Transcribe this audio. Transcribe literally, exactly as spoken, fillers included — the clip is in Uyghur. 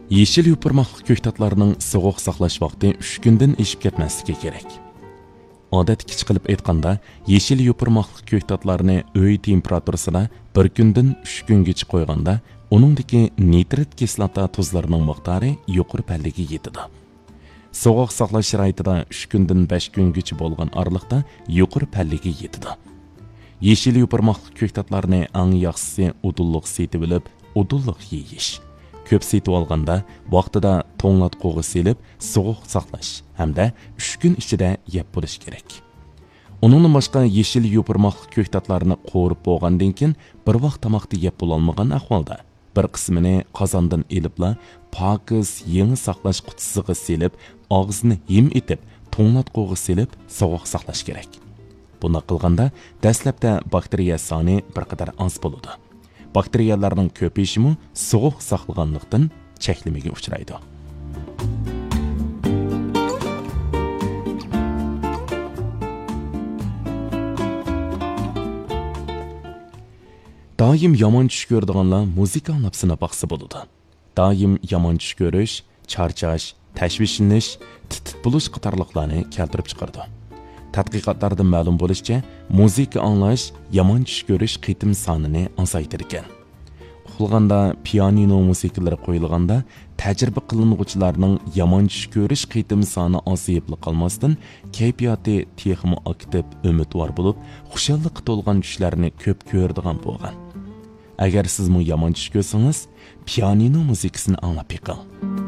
يېشىل يوپۇرماقلىق كۆكتاتلارنىڭ سوغۇق ساقلاش ۋاقتى ئۈچ كۈندىن ئېشىپ كەتمەسلىكى كېرەك. ئادەتتىكىچە قىلىپ ئېيتقاندا، يېشىل يوپۇرماقلىق كۆكتاتلارنى ئۆي تېمپېراتۇرىسىدا بىر كۈندىن ئۈچ كۈنگىچە قويغاندا، ئۇنىڭدىكى نىترىت كىسلاتا تۇزلىرىنىڭ مىقدارى يۇقىرى پەللىگە يېتىدۇ. سوغۇق ساقلاش شارائىتىدا ئۈچ كۈندىن بەش كۈنگىچە بولغان ئارىلىقتا يۇقىرى پەللىگە يېتىدۇ. يېشىل يوپۇرماقلىق كۆكتاتلارنى ئەڭ ياخشىسى ئۇدۇللۇق سېتىۋېلىپ، ئۇدۇللۇق يېيىش. كۆپ سېتىۋالغاندا، ۋاقتىدا توڭلاتقۇغا سېلىپ، سوغۇق ساقلاش ھەمدە ئۈچ كۈن ئىچىدە يەپ بولۇش كېرەك. ئۇنىڭدىن باشقا، يېشىل يوپۇرماقلىق كۆكتاتلارنى قورۇپ بولغاندىن كېيىن، بىر ۋاق تاماقتا يەپ بولالمىغان ئەھۋالدا، بىر قىسمىنى قازاندىن ئېلىپلا، پاكىز يېڭى ساقلاش قۇتىسىغا سېلىپ، ئاغزىنى ھىم ئېتىپ، توڭلاتقۇغا سېلىپ، سوغۇق ساقلاش كېرەك. بۇنداق قىلغاندا، دەسلەپتە باكتېرىيە سانى بىر قەدەر ئاز بولىدۇ. باكتېرىيەلەرنىڭ كۆپىيىشىمۇ سوغۇق ساقلىغانلىقتىن چەكلىمىگە ئۇچرايدۇ. دائىم يامان چۈش كۆرىدىغانلار مۇزىكا ئاڭلاپ سىناپ باقسا بولىدۇ. دائىم يامان چۈش كۆرۈش، چارچاش، تەشۋىشلىنىش، تىت-تىت بولۇش قاتارلىقلارنى كەلتۈرۈپ چىقىرىدۇ. تەتقىقاتلاردىن مەلۇم بولۇشىچە، مۇزىكا ئاڭلاش يامان چۈش كۆرۈش قېتىم سانىنى ئازايتىدىكەن. ئۇخلىغاندا پىيانىنو مۇزىكىلىرى قويۇلغاندا، تەجرىبە قىلىنغۇچىلارنىڭ يامان چۈش كۆرۈش قېتىم سانى ئازىيىپلا قالماستىن، كەيپىياتى تېخىمۇ ئاكتىپ، ئۈمىدۋار بولۇپ، خۇشاللىققا تولغان چۈشلەرنى كۆپ كۆرىدىغان بولغان. ئەگەر سىزمۇ يامان چۈش كۆرسىڭىز، پىيانىنو مۇزىكىسىنى ئاڭلاپ بېقىڭ.